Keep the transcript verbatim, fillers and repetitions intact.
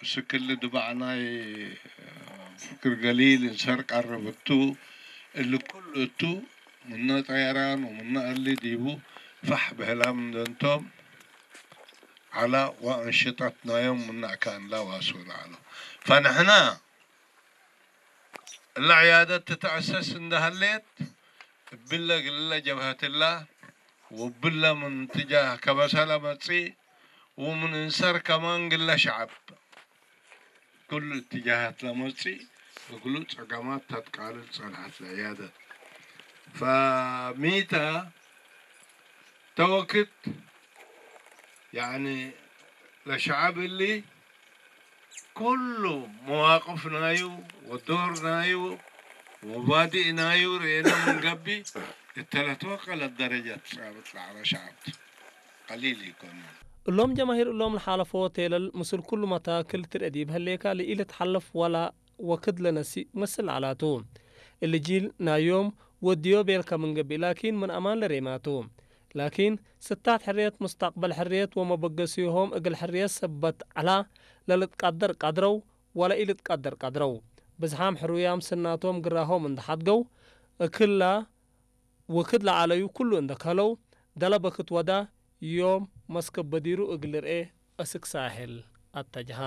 እስክል ድባዕ ናይ ፍክር ገሊል እንሰር ቀርብ እቱ፣ እሊ ኩሉ እቱ ምነ ጠየራን ወምነ እሊ ዲቡ ፈሕ ብህላም እንደ እንቶም ዐላ ወአንሽጠት ናዮም ምነ አካንላ ዋስኡ ለዐሎ። ፈንሕና እለ ዕያደት ትትአሰስ እንደ ሀሌት፣ እብለ ግለ ጀብሀትላ ወእብለ ምን ትጃህ ከበሰለ መጽእ ወምን እንሰር ከማን ግለ ሸዐብ ክሉ እትጃሃት ለመጽእ እግሉ ጸገማት ተትቃልል ጸንሐት ለዕያደት። ፈሚተ ተወክት፣ ያኒ ለሸዐብ እሊ ኩሉ መዋቅፍ ናዩ ወዶር ናዩ ወመባዲእ ናዩ ርኤነ ምን ገብእ፣ እተ ለትወቀለት ደረጀት ጻብጥ ለዐለ ሸዐብ ቱ። ቀሊል ኢኮን። እሎም ጀማሂር እሎም ለሓለፎ ቴለል ምስል ኩሉ መታክል ትርኤ ዲብ ህሌካ ለኢልትሐለፍ ወላ ወክድ ለነሲእ ክምስል ዐላቱ። እሊ ጂል ናይ ዮም ወድዮ ቤልከ ምን ገብእ ላኪን ምን አማን ለሬማቱ። ላኪን ስታት ሕርየት፣ ሙስተቅበል ሕርየት ወመበገሲሆም እግል ሕርየት ሰበት ዐላ ለልትቀደር ቀድረው ወለኢልትቀደር ቀድረው። ብዝሓም ሕሩያም ስናቶም ግራሆም እንደ ሐድገው እክላ ወክድ ለዐለዩ ኩሉ እንደ ከህለው፣ ደለ በክት ወዳ ዮም መስከብ በዲሩ እግል ልርኤ አስክ ሳሕል አተጅሃ።